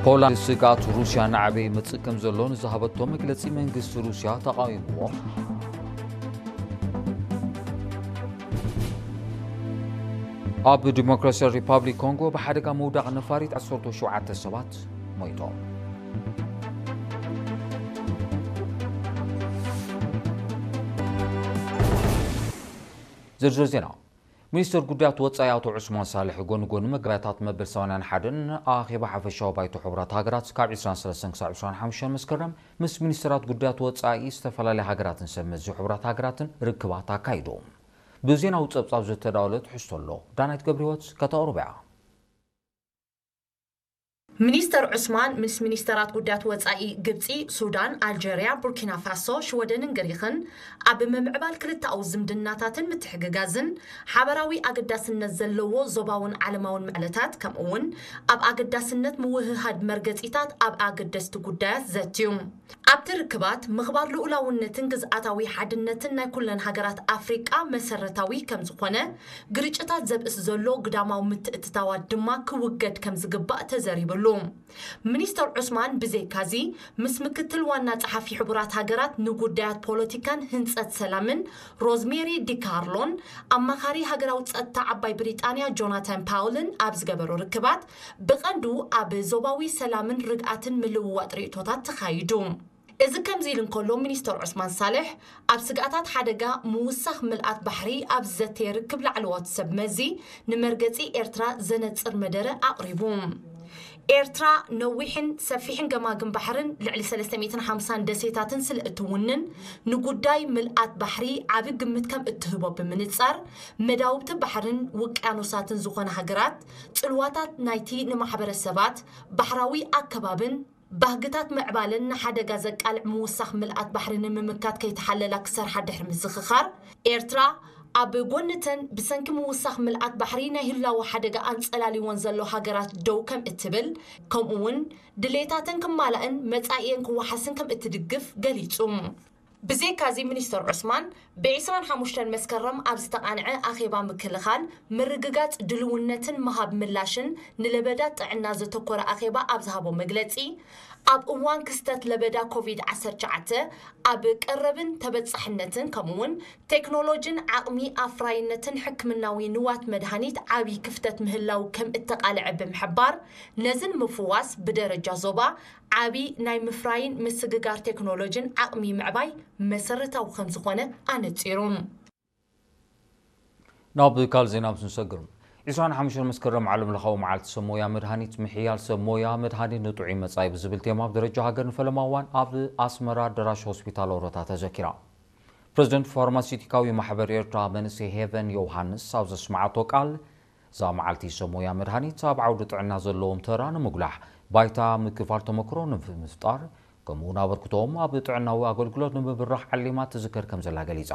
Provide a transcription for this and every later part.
ፖላንድ ስግኣት ሩስያ ናዕበይ ይመጽእ ከም ዘሎ ንዝሃበቶ መግለጺ መንግስቲ ሩስያ ተቓዊምዎ። ኣብ ዲሞክራሲያዊ ሪፓብሊክ ኮንጎ ብሓደጋ ምውዳቕ ነፋሪት ዓሰርተ ሸውዓተ ሰባት ሞይቶም። ዝርዝር ዜና። ሚኒስትር ጉዳያት ወጻኢ ኣቶ ዑስማን ሳልሕ ጎኒ ጎኒ መጋባእያታት መበል ሰማንያን ሓደን ኣኼባ ሓፈሻዊ ባይቶ ሕቡራት ሃገራት ካብ ዕስራን ሰለስተን ክሳብ ዕስራን ሓሙሽተን መስከረም ምስ ሚኒስትራት ጉዳያት ወጻኢ ዝተፈላለያ ሃገራትን ሰብ መዚ ሕቡራት ሃገራትን ርክባት ኣካይዱ። ብዜናዊ ጸብጻብ ዝተዳወለ ትሕዝቶ ኣሎ። ዳናይት ገብረህይወት ከተቕርቦ እያ። ሚኒስተር ዑስማን ምስ ሚኒስተራት ጉዳያት ወጻኢ ግብጺ፣ ሱዳን፣ ኣልጀርያ፣ ቡርኪና ፋሶ፣ ሽወደንን ግሪኽን ኣብ ምምዕባል ክልተኣዊ ዝምድናታትን ምትሕግጋዝን ሓበራዊ ኣገዳስነት ዘለዎ ዞባውን ዓለማውን ምዕለታት፣ ከምኡውን ኣብ ኣገዳስነት ምውህሃድ መርገጺታት ኣብ ኣገደስቲ ጉዳያት ዘትዩ። ኣብቲ ርክባት፣ ምኽባር ልኡላውነትን ግዝኣታዊ ሓድነትን ናይ ኩለን ሃገራት ኣፍሪቃ መሰረታዊ ከም ዝኾነ፣ ግርጭታት ዘብእስ ዘሎ ግዳማዊ ምትእትታዋት ድማ ክውገድ ከም ዝግባእ ተዘሪብሉ። ሚኒስተር ዑስማን ብዘይካዚ፣ ምስ ምክትል ዋና ጸሓፊ ሕቡራት ሃገራት ንጉዳያት ፖለቲካን ህንጸት ሰላምን ሮዝሜሪ ዲካርሎን ኣማኻሪ ሃገራዊ ጸጥታ ዓባይ ብሪጣንያ ጆናታን ፓውልን ኣብ ዝገበሮ ርክባት፣ ብቐንዱ ኣብ ዞባዊ ሰላምን ርግኣትን ምልውዋጥ ርእይቶታት ተኻይዱ። እዚ ከምዚ ኢሉ እንከሎ፣ ሚኒስተር ዑስማን ሳልሕ ኣብ ስግኣታት ሓደጋ ምውሳኽ ምልኣት ባሕሪ ኣብ ዘተየ ርክብ ላዕለዎት ሰብ መዚ ንመርገጺ ኤርትራ ዘነጽር መደረ ኣቕሪቡ። ኤርትራ ነዊሕን ሰፊሕን ገማግም ባሕርን ልዕሊ ሰለስተ ሚእትን ሓምሳን ደሴታትን ስለ እትውንን፣ ንጉዳይ ምልኣት ባሕሪ ዓቢ ግምት ከም እትህቦ ብምንጻር፣ መዳውብቲ ባሕርን ውቅያኖሳትን ዝኾና ሃገራት፣ ጽልዋታት ናይቲ ንማሕበረሰባት፣ ባሕራዊ ኣከባብን፣ ባህግታት ምዕባለን ንሓደጋ ዘቃልዕ ምውሳኽ ምልኣት ባሕሪ ንምምካት ከይተሓለላ ክሰርሓ ድሕሪ ምዝኽኻር፣ ኤርትራ ኣብ ጎንተን ብሰንኪ ምውሳኽ ምልኣት ባሕሪ ናይ ህላወ ሓደጋ ኣንጸላልወን ዘሎ ሃገራት ደው ከም እትብል፣ ከምኡ'ውን ድሌታተን ክማላእን መጻኢየን ክወሓስን ከም እትድግፍ ገሊጹ። ብዘይካዚ ሚኒስተር ዑስማን፣ ብዒስራን ሓሙሽተን መስከረም ኣብ ዝተቓንዐ ኣኼባ ምክልኻል፣ ምርግጋጽ ድልውነትን ምሃብ ምላሽን ንለበዳ ጥዕና ዘተኮረ ኣኼባ ኣብ ዝሃቦ መግለጺ፣ ኣብ እዋን ክስተት ለበዳ ኮቪድ ዓሰርተ ትሽዓተ ኣብ ቀረብን ተበጻሕነትን ከምኡ'ውን ቴክኖሎጂን ዓቕሚ ኣፍራይነትን ሕክምናዊ ንዋት መድሃኒት ዓቢ ክፍተት ምህላው ከም እተቓልዐ ብምሕባር፣ ነዚ ንምፍዋስ ብደረጃ ዞባ ዓቢ ናይ ምፍራይን ምስግጋር ቴክኖሎጂን ዓቕሚ ምዕባይ መሰረታዊ ከም ዝኾነ ኣነጺሩ። ናብ ካልእ ዜና ምስ ንሰግር፣ ዕስራን ሓሙሽተን መስከረም ዓለም ለኻዊ መዓልቲ ሰብ ሞያ መድሃኒት ምሕያል ሰብ ሞያ መድሃኒት ንጥዑይ መጻኢ ብዝብል ቴማ ኣብ ደረጃ ሃገር ንፈለማ እዋን ኣብ ኣስመራ ኣደራሽ ሆስፒታል ኦሮታ ተዘኪራ። ፕረዚደንት ፋርማሲውቲካዊ ማሕበር ኤርትራ መንእሰይ ሄቨን ዮውሃንስ ኣብ ዘስምዓቶ ቃል፣ እዛ መዓልቲ ሰብ ሞያ መድሃኒት ኣብ ዓውዲ ጥዕና ዘለዎም ተራ ንምጉላሕ፣ ባይታ ምክፋል ተመክሮ ንምፍጣር፣ ከምኡ'ውን ኣበርክቶኦም ኣብ ጥዕናዊ ኣገልግሎት ንምብራኽ ዓሊማ ትዝከር ከም ዘላ ገሊጻ።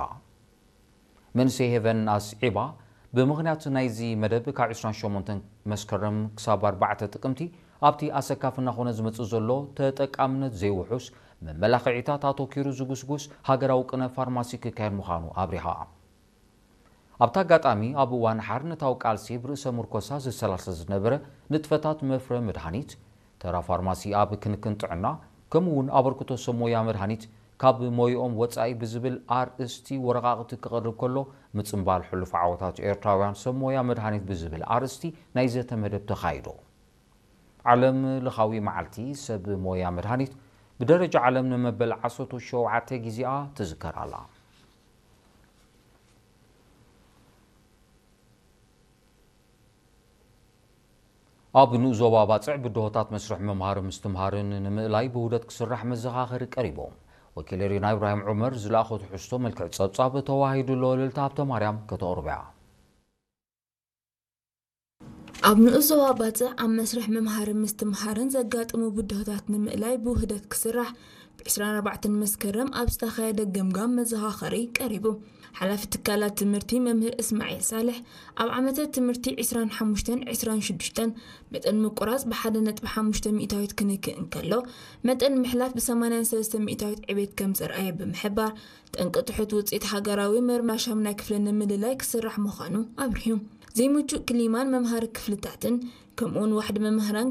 መንእሰይ ሄቨን ኣስዒባ፣ ብምኽንያት ናይዚ መደብ ካብ ዕስራን ሸሞንተን መስከረም ክሳብ ኣርባዕተ ጥቅምቲ ኣብቲ ኣሰካፊ እናኾነ ዝመጽእ ዘሎ ተጠቃምነት ዘይውሑስ መመላኽዒታት ኣተኲሩ ዝጉስጉስ ሃገራዊ ቅነ ፋርማሲ ክካየድ ምዃኑ ኣብሪሃ። ኣብቲ ኣጋጣሚ፣ ኣብ እዋን ሓርነታዊ ቃልሲ ብርእሰ ምርኮሳ ዝሰላሰል ዝነበረ ንጥፈታት መፍረ መድሃኒት፣ ተራ ፋርማሲ ኣብ ክንክን ጥዕና፣ ከምኡ'ውን ኣበርክቶ ሰብ ሞያ መድሃኒት ካብ ሞይኦም ወጻኢ ብዝብል ኣርእስቲ ወረቓቕቲ ክቐርብ ከሎ፣ ምጽንባል ሕሉፍ ዓወታት ኤርትራውያን ሰብ ሞያ መድሃኒት ብዝብል ኣርእስቲ ናይ ዘተ መደብ ተኻይዱ። ዓለም ለኻዊ መዓልቲ ሰብ ሞያ መድሃኒት ብደረጃ ዓለም ንመበል ዓሰርተ ሸውዓተ ግዜኣ ትዝከር ኣላ። ኣብ ንኡስ ዞባ ባጽዕ ብድሆታት መስርሕ ምምሃርን ምስትምሃርን ንምእላይ ብውህደት ክስራሕ መዘኻኸሪ ቀሪቡ። ወኪል ሪና ኢብራሂም ዑመር ዝለኣኾ ትሕዝቶ መልክዕ ጸብጻብ ተዋሂዱ ኣሎ። ልልታ ሃብተ ማርያም ከተቕርቦ እያ። ኣብ ንኡስ ዞባ ባጽዕ ኣብ መስርሕ ምምሃርን ምስትምሃርን ዘጋጥሙ ብድሆታት ንምእላይ ብውህደት ክስራሕ ብዕስራን ኣርባዕተን መስከረም ኣብ ዝተኻየደ ገምጋም መዘኻኸሪ ቀሪቡ። ሓላፊ ትካላት ትምህርቲ መምህር እስማዒል ሳልሕ፣ ኣብ ዓመተ ትምህርቲ ዕስራን ሓሙሽተን ዕስራን ሽዱሽተን መጠን ምቁራጽ ብሓደ ነጥቢ ሓሙሽተ ሚእታዊት ክንክእ እንከሎ፣ መጠን ምሕላፍ ብሰማንያን ሰለስተ ሚእታዊት ዕቤት ከም ዘርኣየ ብምሕባር፣ ጠንቂ ትሑት ውጽኢት ሃገራዊ መርማሻም ናይ ክፍሊ ንምልላይ ክስራሕ ምዃኑ ኣብሪሁ። ዘይምቹእ ክሊማን መምሃሪ ክፍልታትን፣ ከምኡውን ዋሕዲ መምህራን